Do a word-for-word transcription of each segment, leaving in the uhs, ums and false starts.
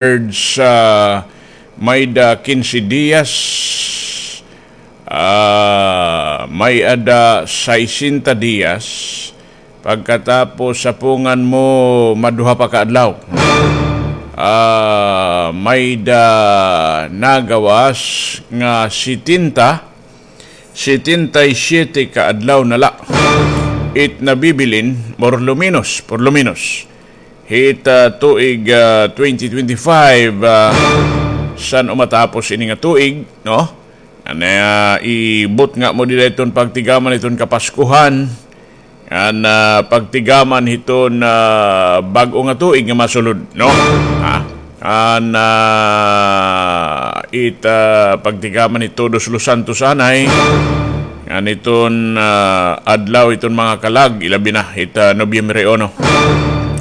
Words, ah, may-ada kinse diyas, ah, may-ada saysenta diyas, pagkatapos sapungan mo maduha pa ka adlaw. Ah, may-ada nagawas nga setenta, setenta y siete ka adlaw na la it nabibilin, por lo menos, por lo menos. Hit, ah, tuig, ah, twenty twenty-five, ah, san-o matapos ini nga tuig, no? Ano, ah, ibutnga mo dida iton pagtigaman iton Kapaskuhan, ngan, ah, pagtigaman hiton, ah, bag-o nga tuig nga masulod, no? Ha? Ngan, ah, it, ah, pagtigaman hit Todos los Santos anay, ngan iton, ah, adlaw iton mga kalag, ilabi na hit, ah, Nobyembre uno.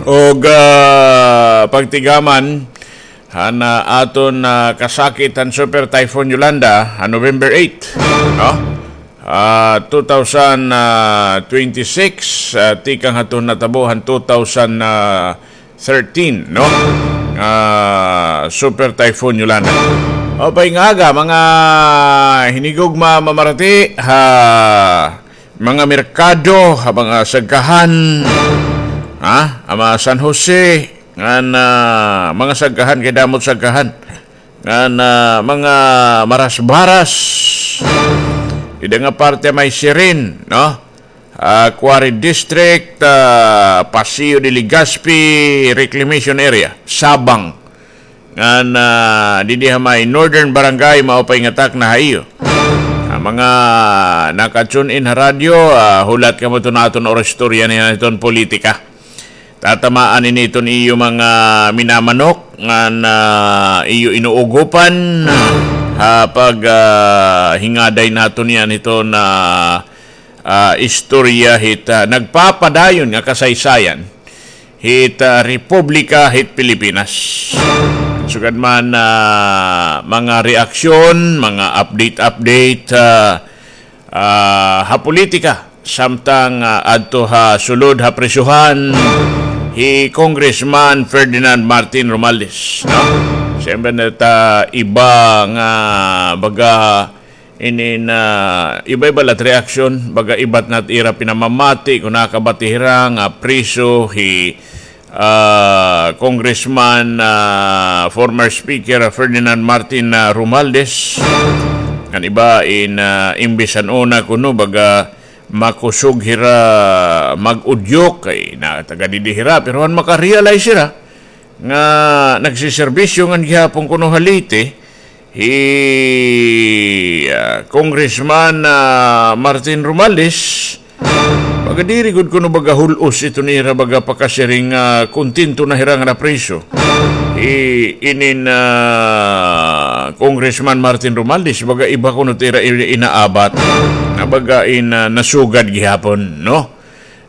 Ug, ah, pagtigaman han, ah, aton, ah, kasakit han Super Typhoon Yolanda, han November eight, no? Ah, two thousand twenty-six, ah, tikang hadton natabo han two thousand thirteen, no? Ah, Super Typhoon Yolanda. Maupay nga aga, mga hinigugma, mamarati, ha mga merkado, ha mga sagkahan, ha, ha mga San Jose, ngan, ah, mga sagkahan, kay damo it sagkahan. Ngan, ah, mga marasbaras, dida nga parte may Sirin, no? Ah, Quarry District, ah, Paseo de Legazpi Reclamation Area, Sabang. Ngan, ah, didi ha may Northern Barangay, maupay nga takna ha iyo. Ah, mga naka-tune in ha radyo, ah, hulat kamo iton aton oro istorya niyan iton politika. Tatamaan ini iton iyo mga minamanok ngan iyo inuugopan ha pag, ah, hingaday naton niyan hiton, ah, ah, istorya hit, ah, nagpapadayon nga kasaysayan hit, ah, Republika hit Pilipinas. Sugad man, ah, mga reaksyon, mga update-update, ah, ah, ha politika, samtang, ah, adto ha sulod ha prisohan hi Congressman Ferdinand Martin Romualdez, no? Siyempre, na ta iba nga, baga, inin, ah, iba-iba la it reaksyon, baga, iba na it ira pinamamati, kon nakabati hira nga priso hi ah, Congressman, ah, former Speaker Ferdinand Martin, ah, Romualdez. An iba in, ah, imbis han una kuno baga makusog hira mag-udyok kay na taga didi hira, pero han maka-realize hira nga nagsiserbisyo ngan gihapon kuno ha Leyte, hi, ah, Congressman, ah, Martin Romualdez, baga diri gud kuno baga hul-os ito nira baga pakasiring nga kontento na hira nga napriso. Hi inin, ah, Congressman Martin Romualdez, baga iba kuno it ira inaabat. Nga baga in, ah, nasugad gihapon, no?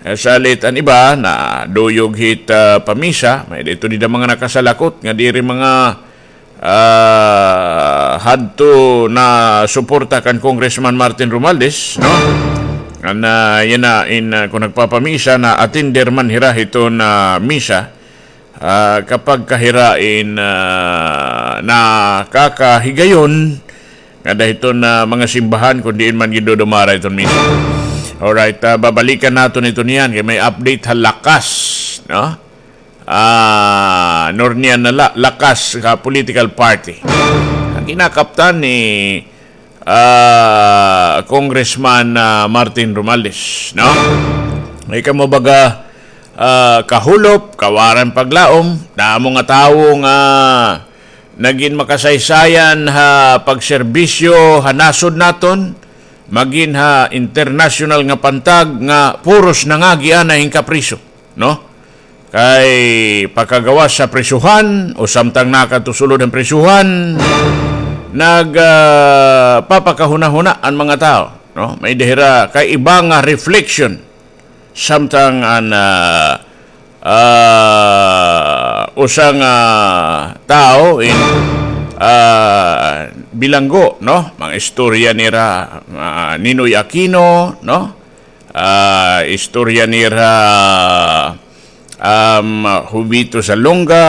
Eh, salit an iba naduyog hit, ah, pamisa, may-ada ito dida mga nakasalakot nga diri mga ah, hadto nasuporta kan Congressman Martin Romualdez, no? An, ah, yana in, ah, kon nagpapamisa, na-attender man hira hiton misa, ah, kapag ka hira in, ah, nakakahigayon ngada hiton mga simbahan kon diin man gindudumara iton misa. Alright, ah, babalikan naton ito niyan kay may update ha Lakas, no? Ah, Nornian na la, Lakas ka political party. An kinakaptan ni, ah, Congressman, ah, Martin Romualdez, no? May kamo baga, ah, kahulop, kawaran paglaom, damo nga tawo nga nagin makasaysayan ha pagserbisyo ha nasod naton, magin ha internasyonal nga pantag nga puros nangagi anay hin kapriso, no? Kay pakagawas sa prisuhan o samtang nakatusulod an prisuhan, nag, ah, papakahunahuna an mga tawo, no? May-ada hira kay iba nga reflection samtang an, ah, ah, usa nga tawo in, ah, bilanggo, no? Mga istorya nira, ah, Ninoy Aquino, no? Ah, istorya nira, um, Jovito Salonga,